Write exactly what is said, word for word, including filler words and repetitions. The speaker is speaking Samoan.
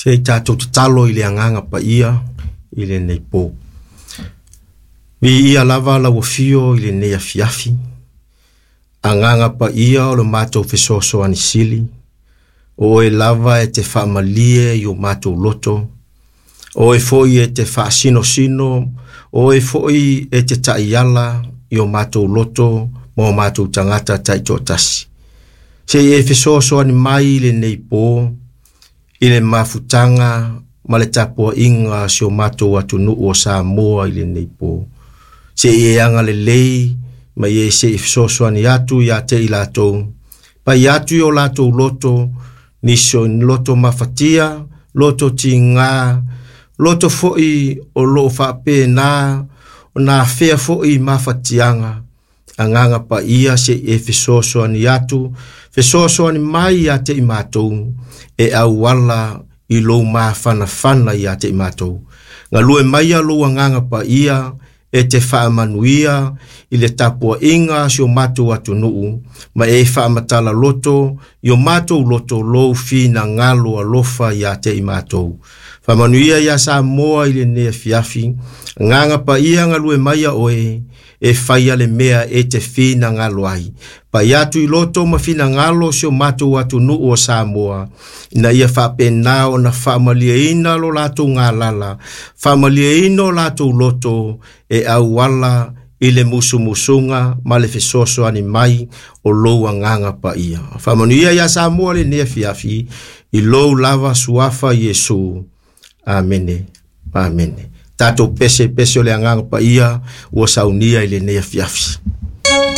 Se i tatou tatalo i le agaga paia i lenei po. Viia lava lau afio i lenei afiafi. Agaga paia o le matou fesoasoani sili, o oe lava e te faamalie i o matou loto, o oe foi e te faasinosino, o oe foi e te taiala i o matou loto ma o matou tagata taitoatasi. Se i e fesoasoani mai i lenei po, i le mafutaga ma le tapuaiga a si o matou atunuu o Samoa i lenei po. Se i e agalelei ma e se i fesoasoani atu ia te i latou, pai atu i o latou loto, nisi o ni loto mafatia, loto tiga, loto foi o loo faapena, ona afea foi i mafatiaga, agaga paia se i e fesoasoani atu, fesoasoani mai ia te i matou, e auala i lou mafanafana ia te i matou. Galue maia lou agaga paia, e te faamanuia i le tapuaiga a si o matou atunuu, ma e faamatala loto i o matou loto lou finagalo alofa ia te i matou. Faamanuia ia Samoa i lenei afiafi, agaga paia galue maia oe, e faia le mea e te finagalo ai. Pai atu i loto ma finagalo si o matou atunuu o Samoa, ina ia faapena ona faamalieina lo latou galala, faamalieina o latou loto e auala i le musumusuga ma le fesoasoani mai o lou agaga paia. Faamanuia ia Samoa lenei afiafi, i lou lava suafa Iesu. Amene. Amene. Tatou pese pese o le agaga paia ua saunia i lenei afiafi.